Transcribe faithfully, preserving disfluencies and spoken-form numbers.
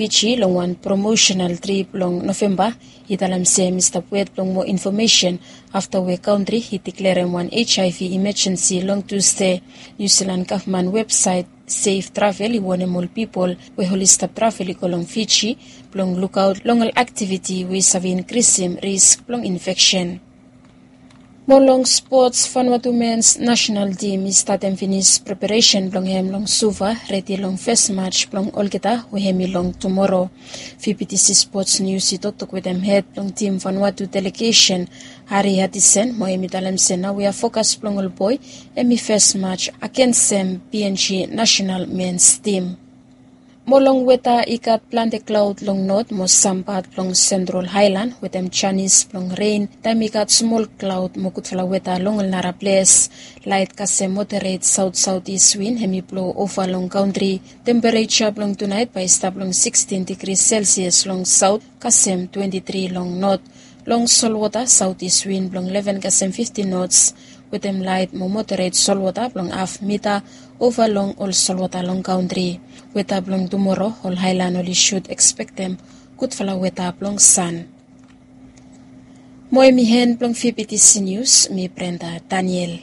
Fiji long wan promosenal trip long Novemba i talem se mi stap wet blong moa infomesen afta we kantri i deklerem wan HIV imajensi long Tusde. Niu Silan gavman websaet Safe Travel i wonem ol pipol we oli stap travel i go long Fiji blong lukaot long ol aktiviti we i save inkrisim risk blong infeksen. Mo long spots, Vanuatu mens nasenal tim i statem finis preparesen blong hem long Suva redi long fes maj blong olgeta we hem i long tumoro. VBTC Spots Nius i toktok wetem hed blong tim Vanuatu delegesen, Hari Hatisen, mo hem i talem se naoia fokas blong ol boe hem i fes maj agensem PNG nasenal mens tim. Mo long weta, i gat plante klaod long not mo sam pat blong Sentral Haelan wetem janis blong ren taem i gat smol klaod mo gudfala weta long ol nara ples. Laet kasem moderet saotsaotis win hem i blo ova long kantri. Tempereja blong tunaet bae i stap long sikstin digri Selsias long saot kasem twenti tri long not. Long solwota, saotis win blong leven kasem fiftin nots wetem laet mo moderet solwota blong haf mita ova long ol solwota long kantri. Weta blong tumoro, ol haelan oli sud ekspektem gudfala weta blong san. Mo hem i hen blong VBTC Nius, mi Brenda Daniel.